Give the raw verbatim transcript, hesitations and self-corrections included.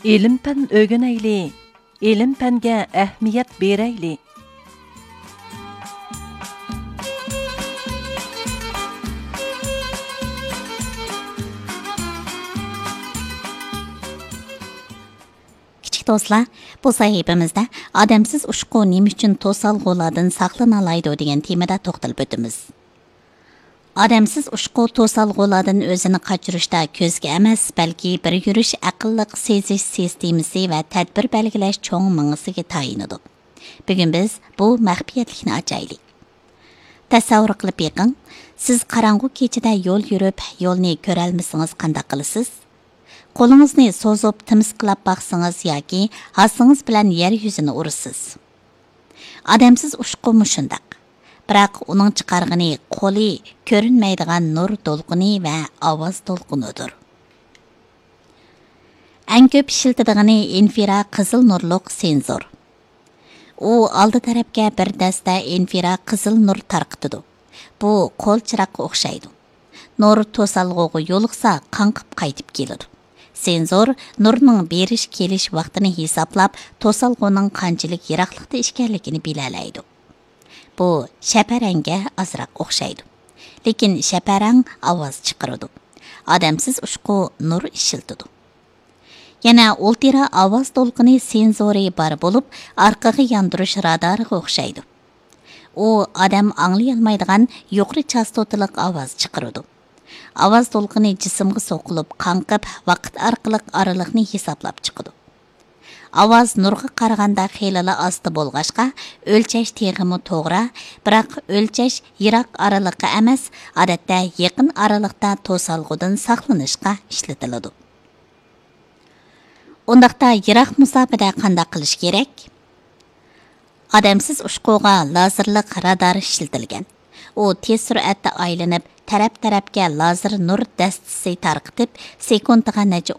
ئىلىم-پەن ئۆگىنەيلى، ئىلىم-پەنگە ئەھمىيەت بېرەيلى. كىچىك دوستلار، بۇ سەھىپىمىزدە «ئادەمسىز ئۇچقۇ نېمە ئۈچۈن توسالغۇلاردىن ساقلىنالايدۇ؟» دېگەن تېمىدا توختىلىپ ئۆتىمىز. ئادەمسىز ئۇچقۇ توسالغۇلاردىن ئۆزىنى قاچۇرۇشتا كۆزگە ئەمەس، بەلكى بىر يۈرۈش ئەقىللىق سېزىش سىستېمىسى ۋە تەدبىر بەلگىلەش چوڭ مېڭىسىگە تايىنىدۇ. بۈگۈن بىز بۇ مەخپىيەتلىكنى ئاچايلى. تەسەۋۋۇر قىلىپ بېقىڭ، سىز قاراڭغۇ كېچىدە يول يۈرۈپ، يولنى كۆرەلمىسىڭىز قانداق قىلىسىز؟ قولىڭىزنى سوزۇپ تىمىسقىلاپ باقسىڭىز ياكى ھاسىڭىز بىلەن يەر يۈزىنى ئۇرىسىز. ئادەمسىز ئۇچقۇمۇ شۇنداق. بىراق ئۇنىڭ چىقارغىنى قولى كۆرۈنمەيدىغان نۇر دولقۇنى ۋە ئاۋاز دولقۇنىدۇر. ئەڭ كۆپ ئىشلىتىدىغىنى ئىنفرا قىزىل نۇرلۇق سېنزور. ئۇ ئالدى تەرەپكە بىر دەستە ئىنفرا قىزىل نۇر تارقىتىدۇ. بۇ قول چىراغقا ئوخشايدۇ. نۇر توسالغۇغا يولۇقسا، قاڭقىپ قايتىپ كېلىدۇ. سېنزور نۇرنىڭ بېرىش-كېلىش ۋاقتىنى ھېسابلاپ، توسالغۇنىڭ قانچىلىك يىراقلىقتا ئىكەنلىكىنى بىلەلەيدۇ. بۇ شەپەرەڭگە ئازراق ئوخشايدۇ. لېكىن شەپەرەڭ ئاۋاز چىقىرىدۇ. ئادەمسىز ئۇچقۇ نۇر ئىشلىتىدۇ. يەنە ئۇلترا ئاۋاز دولقۇنى سېنزورى بار بولۇپ، ئارقىغا ياندۇرۇش رادارىغا ئوخشايدۇ. ئۇ ئادەم ئاڭلىيالمايدىغان يۇقىرى چاستوتىلىق ئاۋاز چىقىرىدۇ. ئاۋاز دولقۇنى جىسىمغا سوقۇلۇپ، قاڭقىپ، ۋاقىت ئارقىلىق ئارىلىقنى ھېسابلاپ چىقىدۇ. ئاۋاز نۇرغا قارىغاندا خېلىلا ئاستا بولغاچقا، ئۆلچەش تېخىمۇ توغرا، بىراق ئۆلچەش يىراق ئارىلىققا ئەمەس، ئادەتتە يېقىن ئارىلىقتا توسالغۇدىن ساقلىنىشقا ئىشلىتىلىدۇ. ئۇنداقتا يىراق مۇساپىدە قانداق قىلىش كېرەك؟ ئادەمسىز ئۇچقۇغا لازېرلىق رادار ئىشلىتىلگەن. ئۇ تېز سۈرئەتتە ئايلىنىپ، تەرەپ-تەرەپكە لازېر نۇر دەستىسى تارقىتىپ، سېكۇنتىغا نەچچە